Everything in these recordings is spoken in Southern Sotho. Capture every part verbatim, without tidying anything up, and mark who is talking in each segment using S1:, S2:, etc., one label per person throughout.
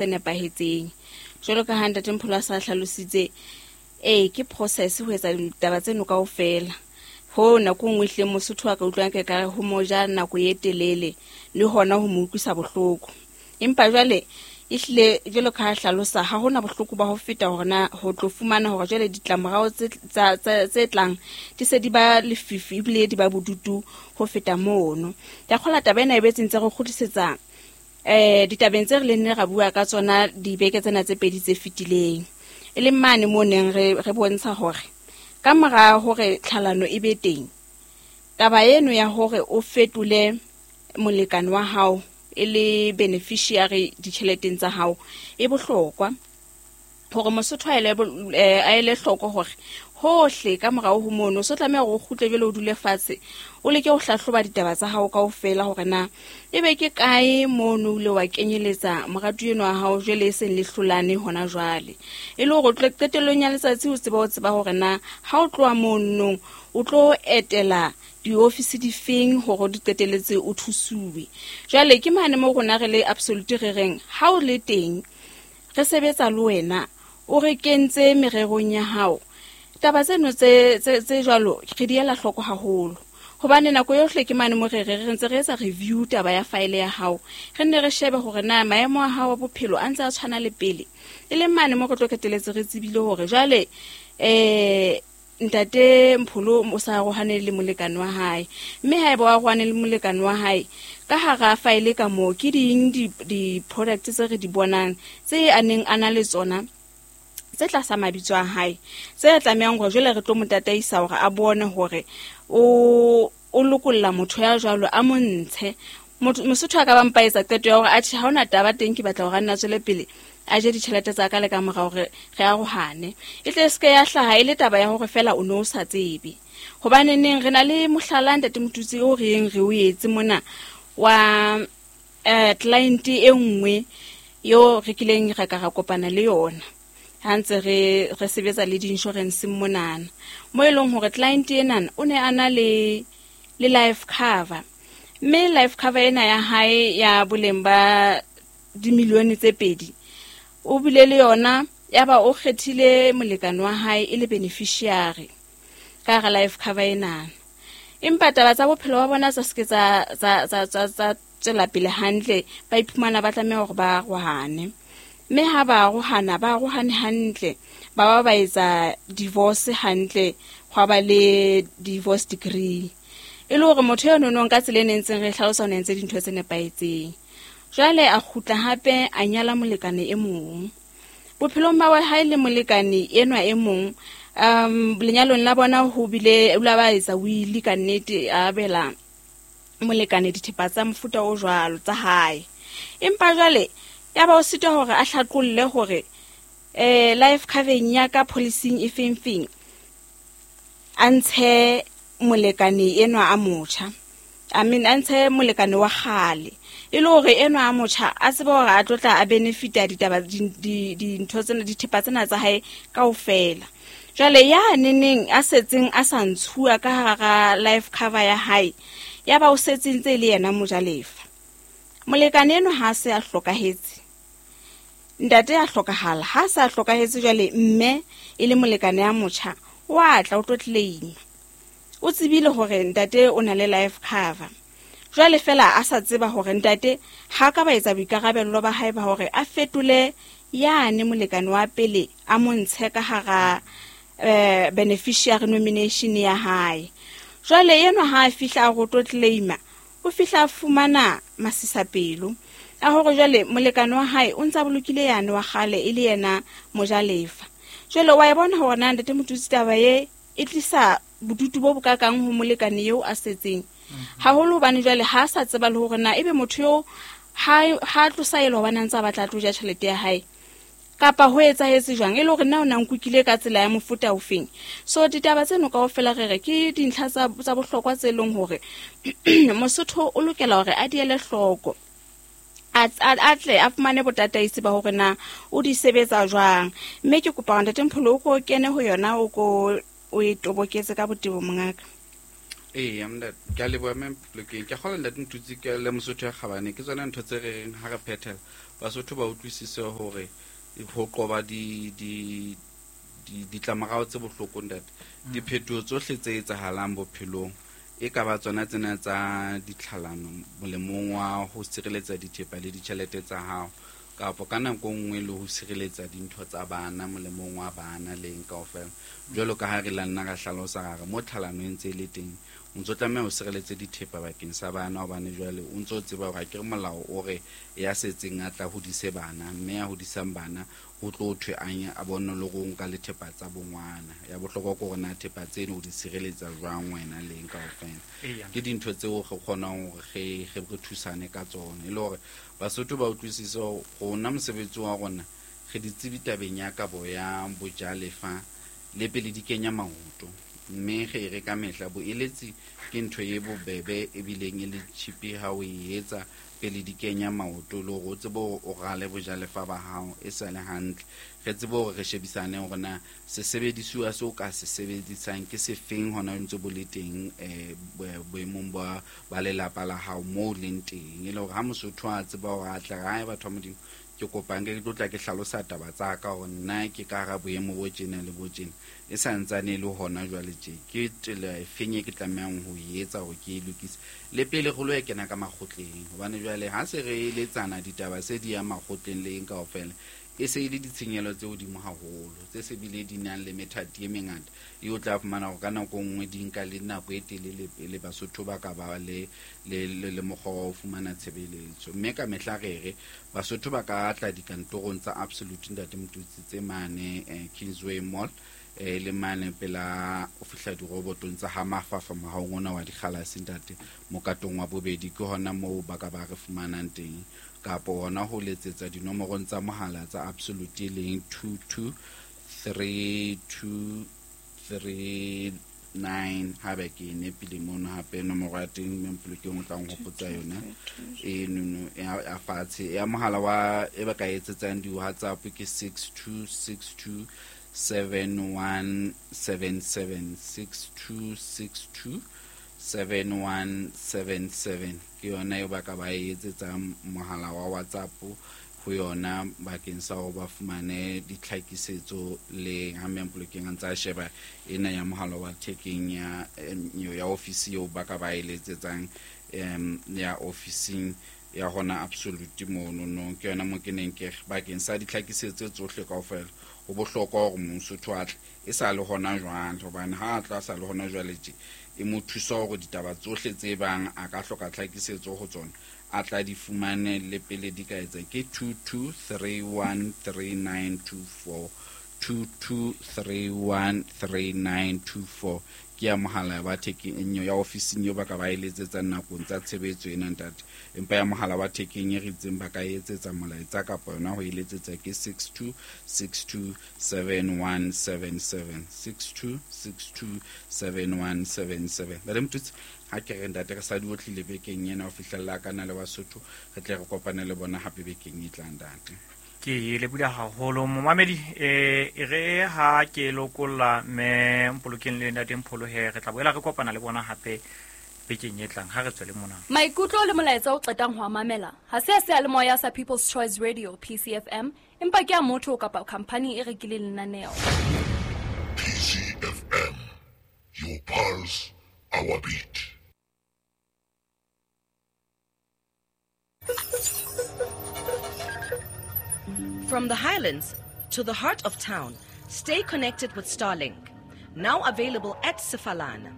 S1: tse nepahetseng. Jwalo ka ha Ntate Mpholo a sa hlalositse, ee, ke process ho etsa ditaba tseno kaofela. Ho nako e nngwe ehlile Mosotho a ka utlwang ke kare ho mo ja nako e telele le hona ho mo utlwisa bohloko. Empa jwale ehlile jwalo ka ha hlalosa, ha hona bohloko ba ho feta hore na ho tlo fumana hore jwale ditlamorao tse tsa tse tse tlang di se di ba lefifi ebile di ba bodutu ho feta mono. Ke a kgolwa taba ena e betse ntse re kgutlisetsa eh ditabeng tse re leng ne ra bua ka tsona dibeke tsena tse pedi tse fetileng. E leng mane mo neng re re bontsha hore ka mora hore tlhalano e be teng, taba eno ya hore o fetole molekane wa hao e le beneficiary ditjheleteng tsa hao e bohlokwa hore Mosotho a ele bo- eh, a ele hloko hore hohle ka morao ho mono o so tlameha hore o kgutle jwale, o dule fatshe, o leke ho hlahloba ditaba tsa hao kaofela hore na ebe ke kae mono o ile wa kenyeletsa moratuwa enwa wa hao jwale e seng le hlolane hona jwale, e le hore o tle qetellong ya letsatsi o tsebe o tseba hore na ha o tloha monong o tlo etela diofisi difeng hore o di qetelletse o thusuwe. Jwale ke mane mo rona re le Absolute re reng ha o le teng re sebetsa le wena, o re kentse mererong ya hao, taba tseno tse tse tse jwalo re di ela hloko haholo, hobane nako yohle ke mane mo re re re ntse re etsa review taba ya file ya hao, re nne re shebe hore na maemo a hao a bophelo a ntse a tshwana le pele, e leng mane mo re tlo qetelletse re tsebile hore jwale eh Ntate Mpholo o sa arohane le molekane wa hae, mme haeba o arohane le molekane wa hae, ka hara file ka moo ke ding di-product tse re di bonang tse a neng a na le tsona tse tlasa mabitso a hae, tse tlamehang hore jwale re tlo mo tataisa hore a bone hore o o lokolla motho ya jwalo a mo ntshe. Motho Mosotho a ka ba mpa etsa qeto ya hore atjhe, ha hona taba teng, ke batla hore a nna tswele pele a je ditjhelete tsa ka le ka mora hore re arohane, e tle se ke ya hlaha e le taba ya hore feela o no o sa tsebe. Hobane neng re na le mohlala, Ntate Motutsi, o re yeng re o etse mona wa eh client e nngwe yo re kileng ra ka ra kopana le yona ha ntse re re sebetsa le di-insurance monana, mo e leng hore client enana o ne a na le le life cover, mme life cover ena ya hae ya boleng ba dimilione tse pedi o bile le yona, ya ba o kgethile molekane wa hae e le beneficiary ka hara life cover enana. Empa taba tsa bophelo ba bona tsa seke tsa tsa tsa tsa tsa tswela pele hantle, ba iphumana ba tlameha hore ba arohane, mme ha ba arohana ba arohane hantle, ba ba ba etsa divorce hantle, hwa ba le divorce decree, e le hore motho eno nong ka tsela e nentseng re hlalosa o ne entse dintho tse nepahetseng. Jwale a kgutla hape a nyala molekane e mong. Bophelong ba hae le molekane enwa e mong, um lenyalong la bona ho bile o la ba etsa will ka nnete, a abela molekane dithepa tsa mofuta o jwalo tsa hae. Empa jwale ya ba o sitwa hore a hlaqolle hore eh life covering ya ka policy e feng feng a ntshe molekane enwa a motjha, I mean a ntshe molekane wa kgale, e le hore enwa a motjha a tsebe hore a tlo tla a benefita ditaba dintho tsena dithepa tsena tsa hae kaofela. Jwale ya neneng a setseng a sa ntshuwa ka hara life cover ya hae, ya ba o setse ntse le yena mojalefa. Molekane enwa ha se a hlokahetse, ntate a hlokahala, ha sa hlokahetse jwale mme e le molekane ya motjha wa tla o tlo claim. O tsebile hore ntate o na le life cover, jwale fela a sa tseba hore ntate ha ka ba etsa boikarabello ba hae ba hore a fetole yane molekane wa pele a mo ntshe ka hara eh beneficiary nomination ya hae. Jwale enwa ha a fihla a go tlo claima, o fihla a fumana masisapelo a hore jwale molekane wa hae o ntsa bolokile yane wa kgale e le yena mojalefa. Jwale wa e bona hore na Ntate Motutsi taba e e tlisa bodutu bo bokakang ho molekane eo a setseng haholo, hobane jwale ha a sa tseba le hore na ebe motho eo ha ha tlosa elo hobane a ntse a batla a tlo ja tjhelete ya hae kapa ho etsahetse jwang, e le hore na o na nkukile ka tsela ya mofuta ofeng. So ditaba tseno kaofela re re ke dintlha tsa tsa bohlokwa tse leng hore Mosotho o lokela hore a di ele hloko, a a tle a fumane botataisi ba hore na o di sebetsa jwang. Mme ke kopa hore Ntate Mpholo o ko kene ho yona, o ko o e toboketse ka botebo mongaka.
S2: Ee, ntate, ke a leboha mme Polokeng. Ke a kgolwa Ntate Motutsi ke le Mosotho ya kgabane, ke tsona ntho tse re reng ha re phethela. Basotho ba utlwisise hore ho qoba di di di ditlamorao tse bohloko ntate. Diphetoho tsohle tse etsahalang bophelong e ka ba tsona tsena tsa ditlhalano molemong wa ho sireletsa dithepa le ditjhelete tsa hao kapa ka nako nngwe le ho sireletsa dintho tsa bana molemong wa bana leng kaofela. Jwalo ka ha re la nna ra hlalosa hore mo tlhalano e ntse e le teng o ntso tlameha ho sireletse dithepa bakeng sa bana hobane jwale o ntso tseba hore akere molao o re ya setseng a tla hodise bana mme ya hodisang bana ho tlo thwe anya a bone le go nka le thepa tsa bongwana. Ya bohlokwa ke hore na thepa tseno o di sireletsa jwang wena leng kaofela. Ke dintho tseo re kgonang hore re re thusane ka tsona e le hore Basotho ba utlwisise rona mosebetsi wa rona re di tsebi tabeng ya kabo ya bojalefa le pele di kenya maoto mme re re ka mehla boeletsi ke ntho e bobebe ebileng e le cheap ha o e etsa pele di kenya maoto le hore o tsebe hore o rale bojalefa ba hao e sa le hantle. Re tsebe hore re shebisane hore na sesebedisuwa seo ka se sebedisang ke sefeng hona ntse bo le teng eh boemong ba ba lelapa la hao moo leng teng e le hore ha Mosotho a tseba hore a tla hae batho ba Modimo ke kopang ke tlo tla ke hlalosa taba tsa ka hore nna ke ka hara boemo bo tjena le bo tjena e sa ntsane le hona jwale tje ke tsela e feng e ke tlamehang ho etsa hore ke e lokise le pele re lo e kena ka makgotleng hobane jwale ha se re eletsana ditaba se di ya makgotleng le eng kaofela e se e le ditshenyehelo tse hodimo haholo tse se bile di nang le methati e mengata e o tla fumana hore ka nako nngwe di nka le nako e telele pele Basotho ba ka ba le le le mokgwa wa ho fumana tshebeletso. Mme ka mehla re re Basotho ba ka tla dikantorong tsa Absolute Ntate Motutsi tse mane eh, Kingsway Mall eh le mane pela o fihla dirobotong tsa ha Mafafa mohaong ona wa dikgalase ntate mokatong wa bobedi ke hona moo ba ka ba re fumanang teng kapa hona ho letsetsa dinomorong tsa mohala tsa Absolute leng two two three two three nine ha ba ke nepile mono hape nomoro ya teng mme Mpolokeng o tlang ho hopotsa yona e nono ya fatshe ya mohala wa e ba ka etsetsang di WhatsApp ke six two six two seven one seven seven six two six two seven one seven seven ke yona eo ba ka ba etsetsang mohala wa WhatsApp ho yona bakeng sa ho ba fumane ditlhakisetso le ha mme Mpolokeng a ntsa sheba ena ya mohala wa thekeng ya ya office eo ba ka ba eletsetsang em ya officing ya hona Absolute mono no ke yona mo ke neng ke bakeng sa ditlhakisetso tsohle kaofela ho bohlokwa hore Mosotho a tle e sa le hona jwale hobane ha a tla sa le hona jwale tje e mo thusa hore ditaba tsohle tse bang a ka hloka tlhakisetso ho tsona a tla di fumane le pele di ka etsa ke two two three one three nine two four two two three one three nine two four ke ya mohala wa thekeng ya ofising eo ba ka ba eletsetsang nakong tsa tshebetso ena ntate empa ya mohala wa thekeng e re itseng ba ka etsetsa molaetsa kapa yona ho eletsetsa ke six two six two seven one seven seven six two six two seven one seven seven. Ntate Motutsi ha ke re ntate re sa di otlile bekeng ena ho fihlella ka na le Basotho re tle re kopane le bona hape bekeng e tlang ntate.
S3: Ke leboha haholo momamedi eh e re ha ke lokolla mme Mpolokeng le Ntate Mpholohe re tla boela re kopana le bona hape bekeng e tlang ha re tswele mona.
S4: Maikutlo le molaetsa o qetang ho mamela ha se a seyalemoya sa People's Choice Radio P C F M empa ke a motho kapa company e rekileng lenaneo.
S5: P C F M, your pulse, our beat.
S6: From the highlands to the heart of town, stay connected with Starlink. Now available at Sefalana.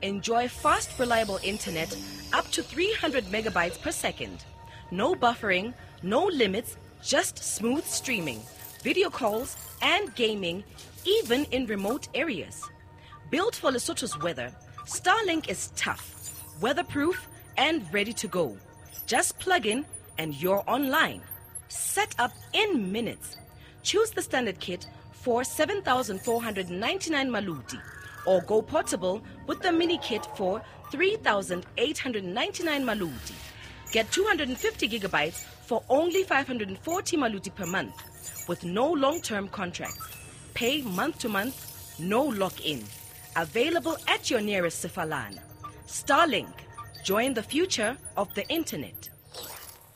S6: Enjoy fast, reliable internet up to three hundred megabytes per second. No buffering, no limits, just smooth streaming, video calls, and gaming, even in remote areas. Built for Lesotho's weather, Starlink is tough, weatherproof, and ready to go. Just plug in and you're online. Set up in minutes. Choose the standard kit for seven thousand four hundred ninety-nine maluti or go portable with the mini kit for three thousand eight hundred ninety-nine maluti. Get two hundred fifty gigabytes for only five hundred forty maluti per month with no long-term contracts. Pay month to month, no lock-in. Available at your nearest Sefalana. Starlink. Join the future of the internet.